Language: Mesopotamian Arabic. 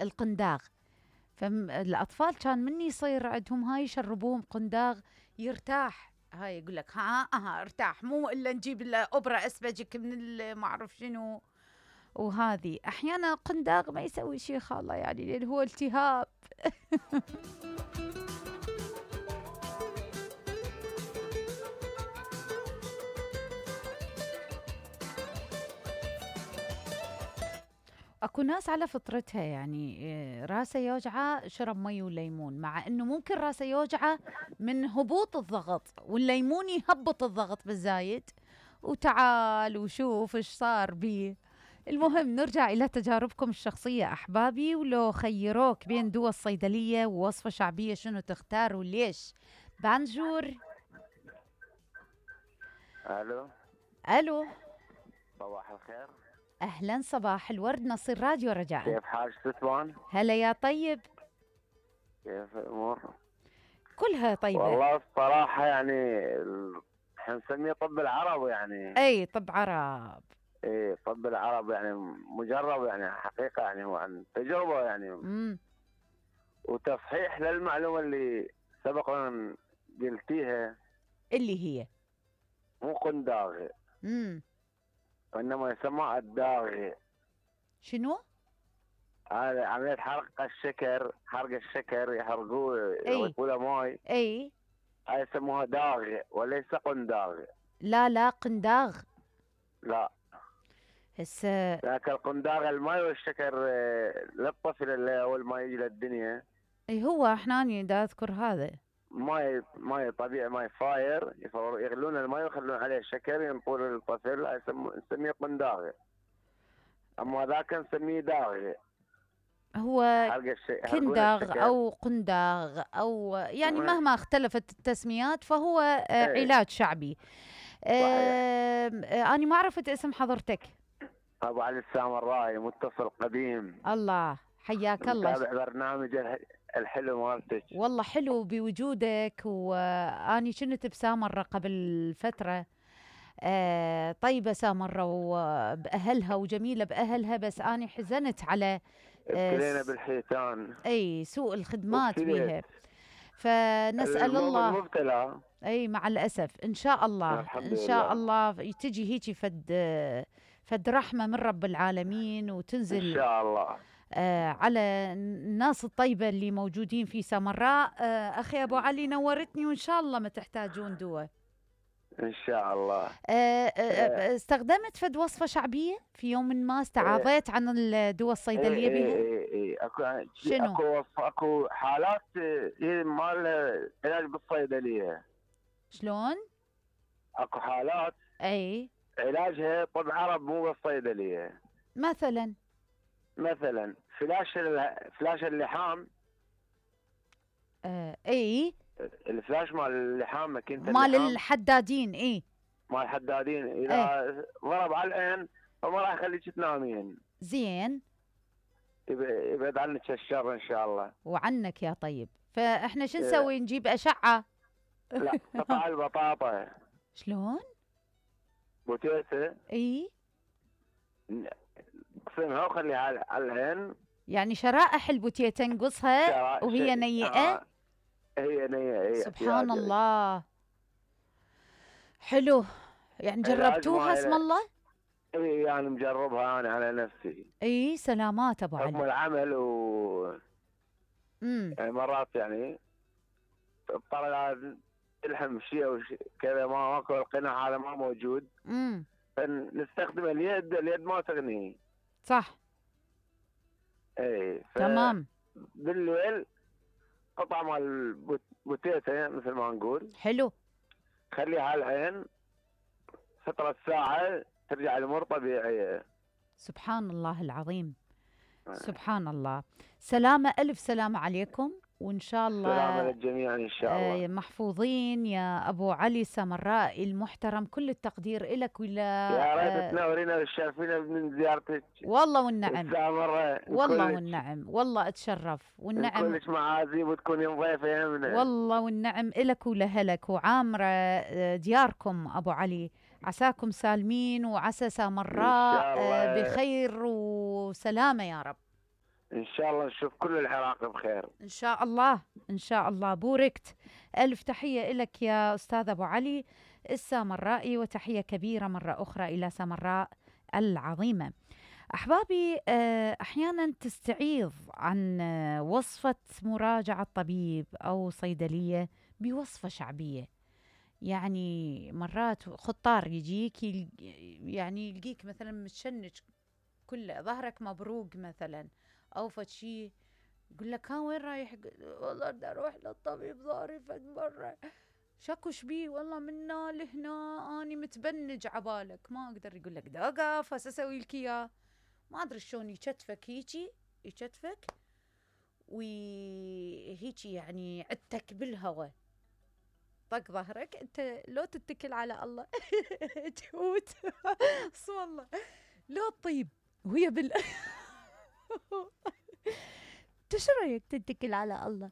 القنداغ. فالأطفال كان من يصير عندهم هاي يشربوهم قنداغ يرتاح. هاي يقول لك ها ارتاح، مو إلا نجيب الأوبرا أسبجك من ما أعرف شنو. وهذه أحيانا قنداغ ما يسوي شيء خالة، يعني لأن هو التهاب. اكو ناس على فطرتها يعني راسه يوجعه شرب مي وليمون، مع انه ممكن راسه يوجعه من هبوط الضغط، والليمون يهبط الضغط بالزايد. وتعال وشوف ايش صار بيه. المهم نرجع الى تجاربكم الشخصيه احبابي، ولو خيروك بين دواء الصيدليه ووصفه شعبيه شنو تختار وليش؟ بانجور. الو. الو. صباح الخير. اهلا، صباح الورد، نصير راديو رجاء. كيف حالك ستوان؟ هلا يا طيب. كيف الامور؟ كلها طيبه. والله الصراحه يعني احنا نسميه طب العرب يعني. اي طب عرب. ايه طب العرب يعني مجرب يعني حقيقه يعني هو عن تجربه يعني. وتصحيح للمعلومه اللي سبقا قلتيها. اللي هي مو قنداغ. وانما يسمى الداغي. شنو؟ هذا عملية حرق الشكر يحرقوه يضيفوا ماي. اي هاي يسموها داغ وليس قنداغ. لا قنداغ. لا هسه لكن القنداغ الماي والشكر للطفل اللي اول ما يجي للدنيا. اي هو احنا دا اذكر هذا ماي طبيعي، ماي فاير، يغلون الماي ويخلون عليه الشكر ينطون للطفل، نسميه قنداغ. اما ذاك نسميه داغ. هو كنداغ او قنداغ او يعني مهما اختلفت التسميات فهو علاج شعبي. انا ما عرفت اسم حضرتك. ابو علي السامرائي، متصل قديم. الله حياك الله. تابع برنامج الحلو مالتك. والله حلو بوجودك، واني كنت بسامرة قبل فترة. طيبة سامرة وبأهلها وجميلة بأهلها، بس أنا حزنت على ابتلينا بالحيتان. أي سوء الخدمات بيها، فنسأل الله المبتلى. أي مع الأسف إن شاء الله إن شاء الله تجي هيك فد رحمة من رب العالمين وتنزل إن شاء الله على الناس الطيبة اللي موجودين في سامراء. أخي أبو علي نورتني، وإن شاء الله ما تحتاجون دواء إن شاء الله. استخدمت فد وصفة شعبية في يوم ما استعاضيت عن الدواء الصيدلية بها؟ شنو؟ اكو حالات مال علاج بالصيدلية. شلون؟ اكو حالات اي علاجها طب عرب مو بالصيدلية. مثلا فلاش اللحام. اي الفلاش مال اللحام، ماكينة مال الحدادين. اي مال الحدادين اذا ضرب على العين فما راح يخليك تنامين. زين، يبعد عنك الشر ان شاء الله. وعنك يا طيب. فاحنا شو نسوي؟ نجيب اشعة؟ لا، قطع البطاطا. شلون؟ بوتيسة. اي اقسمها وخليها على العين. يعني شرائح البوتيتا نقصها وهي نيئة. هي نيئة. سبحان الله، حلو. يعني جربتوها اسم الله؟ اي يعني مجربها انا على نفسي. اي سلامات ابو علي. حكم العمل يعني مرات يعني اضطر الحم شيء كذا، ماكو القناع هذا ما موجود. فنستخدم اليد ما تغني. صح. اي تمام. بالليل قطعة مال بوتيتا مثل ما نقول. حلو. خليها على العين فترة ساعة ترجع الأمور طبيعية. سبحان الله العظيم. سبحان الله. سلامة، ألف سلامة عليكم، وإن شاء الله سلامة للجميع إن شاء الله. محفوظين يا أبو علي سامرائي المحترم. كل التقدير لك ولا يا ريت تنورينا وتشرفينا من زيارتك. والله والنعم. والله والنعم، والله أتشرف والنعم. كلش معازيم وتكوني ضيفة يمنا. والله والنعم إلك ولهلك، وعامرة دياركم أبو علي. عساكم سالمين، وعسى سامراء بخير وسلامة يا رب. ان شاء الله نشوف كل العراق بخير. ان شاء الله ان شاء الله. بوركت. الف تحيه لك يا استاذ ابو علي السامرائي، وتحيه كبيره مره اخرى الى سامراء العظيمه. احبابي، احيانا تستعيض عن وصفه مراجعه طبيب او صيدليه بوصفه شعبيه. يعني مرات خطار يجيك يعني يلقيك مثلا متشنج كله، ظهرك مبروق مثلا او فد شيء، يقول لك ها وين رايح؟ والله بدي اروح للطبيب، ظهري فد مره. شكو شبيه؟ والله من هنا لهنا اني متبنج عبالك، ما اقدر. يقول لك دقف هسه اسوي لك اياه. ما ادري شلون يكتفك هيجي، يكتفك وهيجي يعني عدتك بالهواء، طق ظهرك. انت لو تتكل على الله تموت والله، لو طيب وهي انت شو رايك تتكل على الله؟